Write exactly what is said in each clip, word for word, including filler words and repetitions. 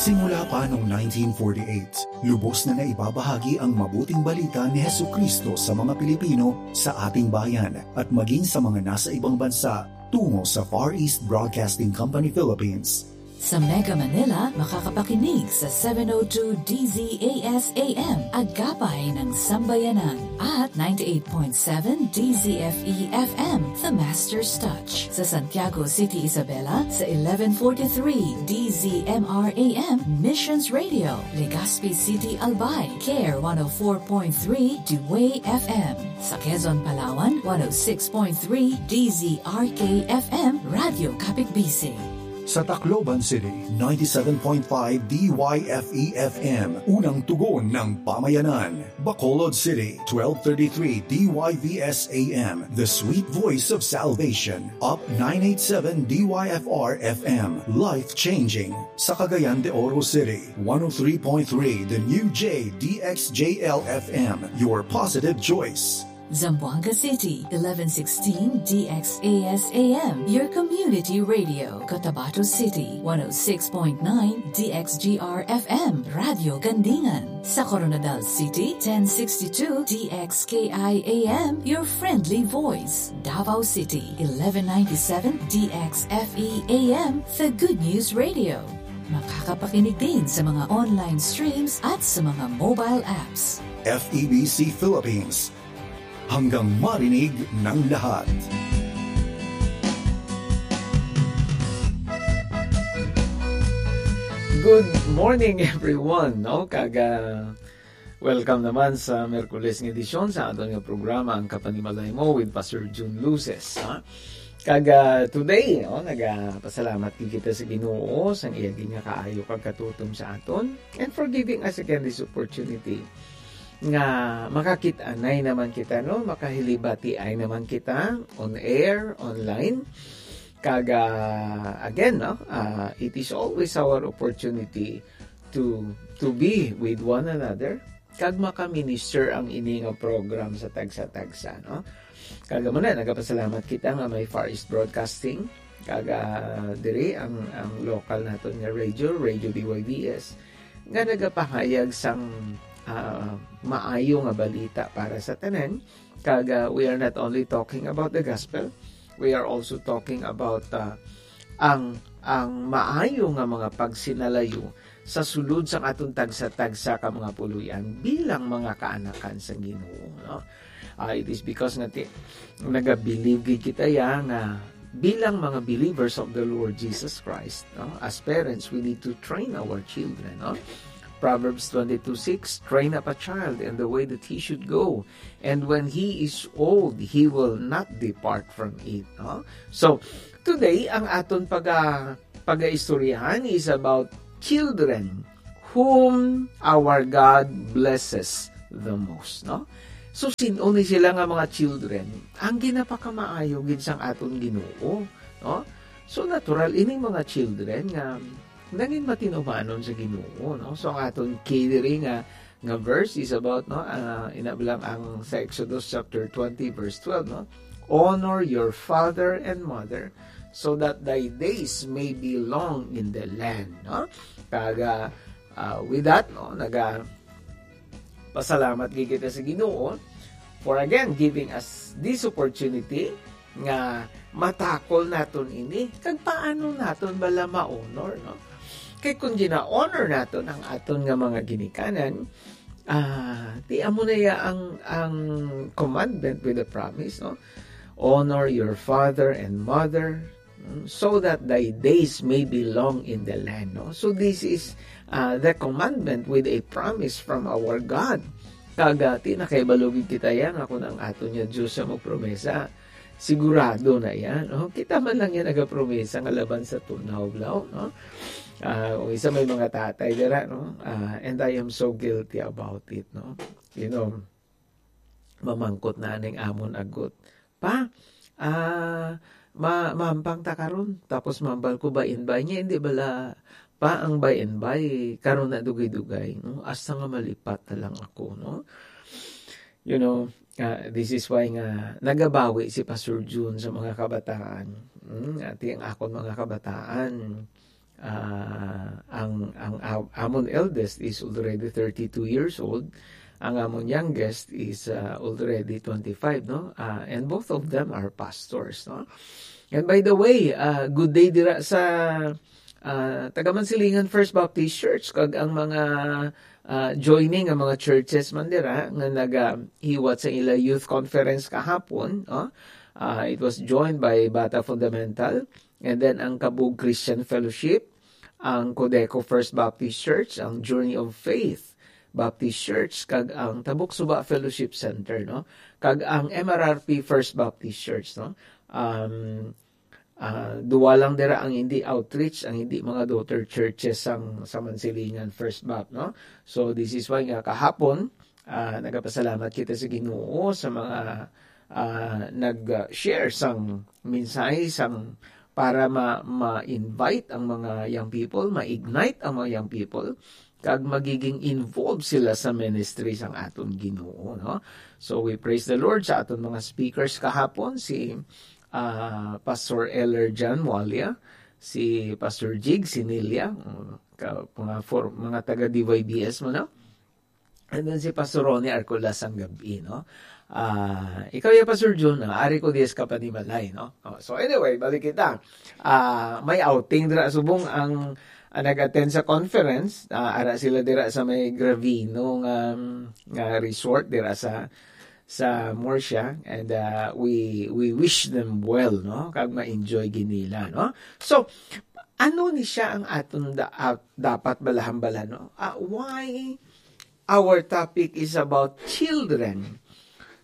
Simula pa noong nineteen forty-eight, lubos na naibabahagi ang mabuting balita ni Jesucristo sa mga Pilipino sa ating bayan at maging sa mga nasa ibang bansa tungo sa Far East Broadcasting Company Philippines. Sa Mega Manila, makakapakinig sa seven oh two D Z A S A M, agapay ng sambayanan, at ninety-eight point seven D Z F E F M, The Master's Touch. Sa Santiago City, Isabela, sa eleven forty-three D Z M R A M, Missions Radio. Legazpi City, Albay, Care one oh four point three, Dway F M. Sa Quezon, Palawan, one oh six point three D Z R K F M, Radyo Kapitbisi. Sa Tacloban City, ninety-seven point five D Y F E F M, unang tugon ng pamayanan. Bacolod City, twelve thirty-three D Y V S A M, the sweet voice of salvation. Up nine eighty-seven D Y F R F M, life-changing. Sa Cagayan de Oro City, one oh three point three The New J D X J L F M, your positive choice. Zamboanga City, eleven sixteen D X A S A M, your community radio. Cotabato City, one oh six point nine D X G R F M, Radyo Gandingan. Sa Koronadal City, ten sixty-two D X K I A M, your friendly voice. Davao City, eleven ninety-seven D X F E A M, the good news radio. Makakapakinig din sa mga online streams at sa mga mobile apps. F E B C Philippines, hanggang marinig ng lahat. Good morning, everyone, no? Kag, ah, welcome naman sa Miyerkules nga edisyon sa aton nga programa, Ang Kapanimalay Mo with Pastor Jun Luces, ha? Kag, ah, today, no, nagapasalamat gid kita sa Ginoo sa iya gid nga kaayo kag katutom sa aton, and for giving us again this opportunity nga makakit-anay naman kita, no? Makahilibatiay naman kita on air, online. Kag, ah, again, no? Ah, it is always our opportunity to, to be with one another kag makaminister ang ini nga program sa tagsa-tagsa, no? Kag amo na, nagapasalamat kita nga may Far East Broadcasting, kag, ah, diri ang, ang local naton nga radio, Radio B Y V S, nga nagapahayag sang, ah, maayo nga balita para sa tanan. Kag, ah, we are not only talking about the gospel, we are also talking about, ah, ang, ang maayo nga mga pagsinalayo sa sulod sang aton tagsa-tagsa ka mga puloy-an bilang mga kaanakan sang Ginoo, no? Ah, it is because nga ti-, nagabilib gid kita ya nga bilang mga believers of the Lord Jesus Christ, no? As parents, we need to train our children, no? Proverbs twenty-two six, "Train up a child in the way that he should go, and when he is old, he will not depart from it," no? So, today, ang aton paga-, pagaistoryahan is about children whom our God blesses the most, no? So, sin-o ni sila nga mga children ang ginapakamaayo gid sang aton Ginoo, no? So, natural, ini mga children nga nangin matinumanon sa Ginoo, no? So, ang aton key diri nga, nga verse is about, no, ah, ina lang ang sa Exodus chapter twenty, verse twelve, no? "Honor your father and mother, so that thy days may be long in the land," no? Kag, ah, ah, with that, no, naga-, pasalamat gid kita sa Ginoo for again giving us this opportunity nga matakol naton ini. Kag paano naton bala ma-honor, no? Kay kung gina-honor naton ang aton nga mga ginikanan, ah, di amo na ya ang, ang commandment with the promise, no? "Honor your father and mother, mm, so that thy days may be long in the land," no? So this is, ah, the commandment with a promise from our God. Kag, ah, ti nakahibalo gid kita ya nga kung ang aton nga Dios ang magpromesa, sigurado na ya, no? Kita man lang ya nagapromesa nga laban sa tunaw, balaw, no? Ah, kung isa may mga tatay dira, no? Ah, and I am so guilty about it, no? You know, mamangkot na ning amon agot, "Pa, ah, ma-, mahampang ta karon." Tapos mambal ko, "By and by niya, hindi bala pa ang by and by, karon na dugay-dugay, no? Hasta nga malipat na lang ako," no? You know, ah, this is why nga nagabawi si Pastor Jun sa mga kabataan. Hmm, ati ang akon mga kabataan, ah, ang Ang am- amon eldest is already thirty-two years old. Ang amon youngest is uh, already twenty-five, no? Uh, and both of them are pastors, no? And by the way, uh, good day dira sa uh, Taga Mansilingan First Baptist Church, kag ang mga uh, joining, ang mga churches man dira nga nagahiwat sa ila youth conference kahapon, no? Uh, it was joined by Bata Fundamental, and then ang Kabug Christian Fellowship, ang Codeco First Baptist Church, ang Journey of Faith Baptist Church, kag ang Tabuk Suba Fellowship Center, no? Kag ang M R R P First Baptist Church, no? Um, ah, duwa lang dira ang hindi outreach, ang hindi mga daughter churches sang sa Mansilingan First Bap, no? So, this is why nga kahapon, ah, nagapasalamat kita sa Ginoo sa mga ah, nag-share sang mensahe sang para ma- ma-invite ang mga young people, ma-ignite ang mga young people, kag magiging involved sila sa ministry sang aton Ginoo, no? So we praise the Lord sa aton mga speakers kahapon, si ah, Pastor Elder John Walia, si Pastor Jig Sinilia, mm, ka, mga for, mga taga D Y B S mo, no? And then si Pastor Ronnie Arcolas sang gabi, no? Ah, ikaw ya, Pastor Jun, ah, ari ko dies ka panimalay, no? Oh, so anyway, balik kita. Ah, may outing dira subong ang, ang nag-attend sa conference, ah, ara sila dira sa may Gravino nga, nga resort dira sa sa Murcia, and uh, we we wish them well, no? Kag ma-enjoy ginila, no? So, ano ni siya ang aton da- ah, dapat balahambala, no? Ah, why our topic is about children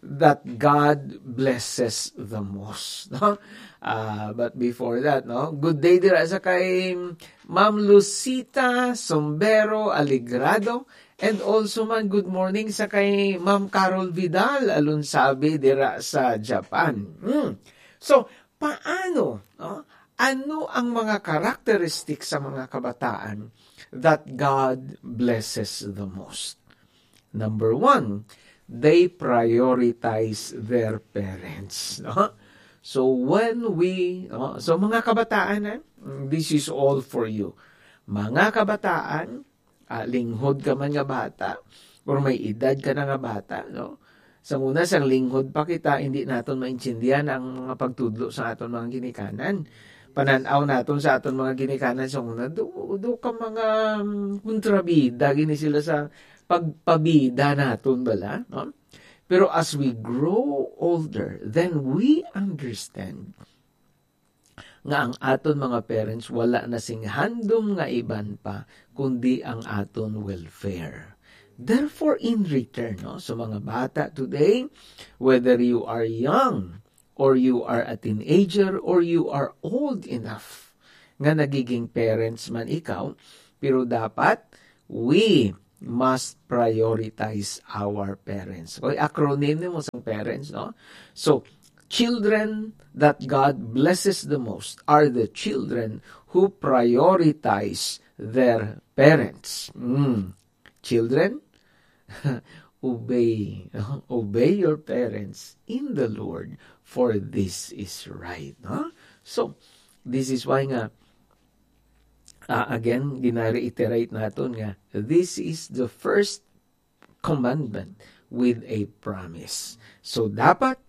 that God blesses the most, no? Ah, but before that, no? Good day dira sa kay Ma'am Lucita Sombero Aligrado, and also man, good morning sa kay Ma'am Carol Vidal Alunsabi dira sa Japan. Hmm. So, paano, no? Ano ang mga characteristics sa mga kabataan that God blesses the most? Number one, they prioritize their parents, no? So when we, no? So mga kabataan, eh, this is all for you. Mga kabataan, ah, linghod ka man nga bata, or may edad ka na nga bata, no? Sa una, sang linghod pa kita, hindi naton maintindihan ang mga pagtudlo sa aton mga ginikanan. Panan-aw naton sa aton mga ginikanan sa una, do, do ka mga, mm, kontrabida, gini sila sa pagpabida naton, bala, no? Pero as we grow older, then we understand nga ang aton mga parents wala na sing handom nga iban pa kundi ang aton welfare. Therefore, in return, no, sa mga bata today, whether you are young or you are a teenager or you are old enough nga nagiging parents man ikaw, pero dapat we must prioritize our parents. Okay, acronym nimo sang parents, no? So, children that God blesses the most are the children who prioritize their parents. Mm. Children, obey, obey your parents in the Lord, for this is right, no? So, this is why nga, ah, again, gina-reiterate naton nga this is the first commandment with a promise. So, dapat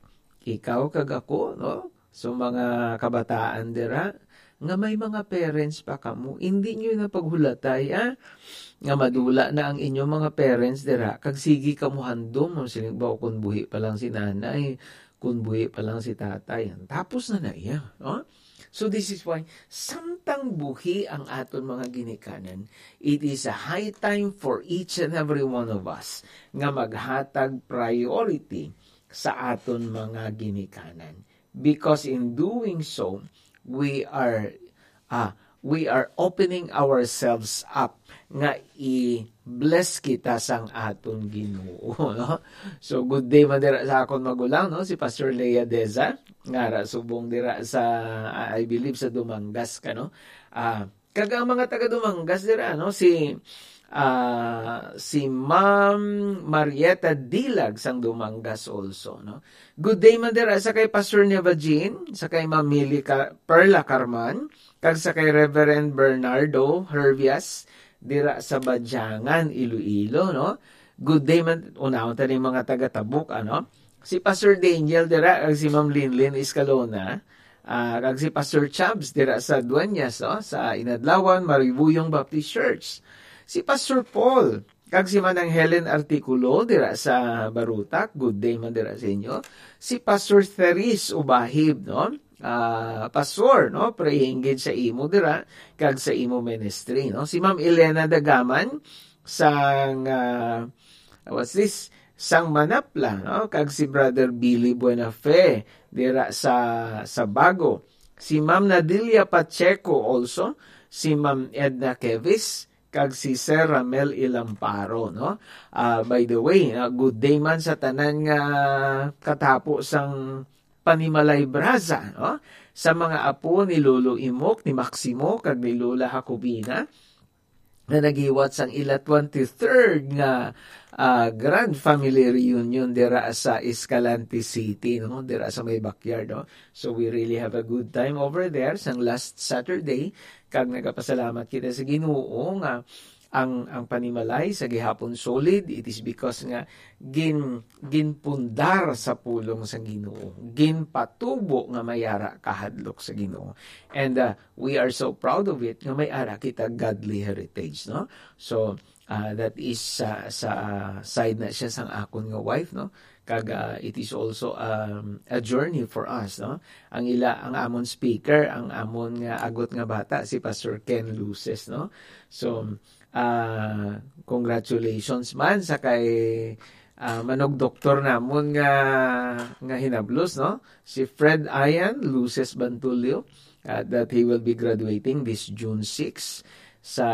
ikaw kag ako, no? So, mga kabataan dira, nga may mga parents pa kamo, hindi nyo na paghulatay, ah, nga madula na ang inyong mga parents dira, kag sige kamo handom, siling ba, kung buhi pa lang si nanay, kung buhi pa lang si tatay, tapos na na iya, no? So this is why, samtang buhi ang aton mga ginikanan, it is a high time for each and every one of us nga maghatag priority sa aton mga ginikanan. Because in doing so, we are, ah, we are opening ourselves up nga i-bless kita sang aton Ginoo, no? So, good day man dira sa akon magulang, no? Si Pastor Lea Deza, nga ra subong dira sa, I believe, sa Dumangas ka, no? Ah, kag ang mga taga Dumangas dira, no? Si, ah, si Ma'am Marietta Dilag sang Dumangas also, no? Good day man dira sa kay Pastor Neva Jean, sa kay Ma'am Mili Ka-, Perla Carman, kag sa kay Reverend Bernardo Hervias, dira sa Badyangan, Iloilo, no? Good day man, unahon ta ning mga taga-Tabuk, ano? Si Pastor Daniel dira, kag si Ma'am Linlin Escalona, ah, kag si Pastor Chubs dira sa Dueñas, no? Sa Inadlawan, Maribuyong Baptist Church. Si Pastor Paul, kag si Manang Helen Articulo dira sa Barutak, good day man dira sa inyo. Si Pastor Therese Ubahib, no? Ah, Pastor, no? Praying gid sa imo dira, kag sa imo ministry, no? Si Ma'am Elena Dagaman, sang, ah, what's this? Sang Manapla, no? Kag si Brother Billy Buenafe, dira sa, sa Bago. Si Ma'am Nadilia Pacheco also, si Ma'am Edna Kevis, kag si Sir Ramel Ilamparo, no? Ah, by the way, ah, good day man sa tanan nga katapo sang Panimalay Braza, no? Sa mga apo ni Lolo Imok, ni Maximo, kag ni Lola Jacobina, na naghiwat sang ila twenty-third nga, ah, grand family reunion dira sa Escalante City, no? Dira sa may backyard, no? So we really have a good time over there sang last Saturday, kag nagapasalamat kita sa Ginoo nga ang, ang panimalay sa gihapon solid. It is because nga gin-, ginpundar sa pulong sa Ginoo, ginpatubo nga may ara kahadlok sa Ginoo. And, uh, we are so proud of it nga may ara kita godly heritage, no? So, uh, that is sa, sa side na siya sang akon nga wife, no? Kag, uh, it is also, um, a journey for us, no? Ang ila, ang amon speaker, ang amon nga agot nga bata, si Pastor Ken Luces, no? So, ah, congratulations man sa kay, ah, manugdoktor namon nga, nga hinablos, no? Si Fred Ian Luces Bantulio, ah, that he will be graduating this June six sa,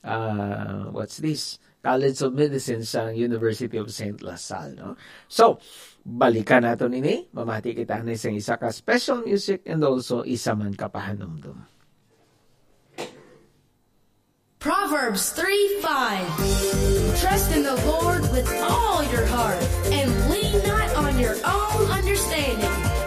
ah, what's this? College of Medicine sa University of Saint La Salle, no? So, balikan naton ini. Mamati kita ni sang isa ka special music and also isa man ka pahanumdom. Proverbs three five. Trust in the Lord with all your heart and lean not on your own understanding.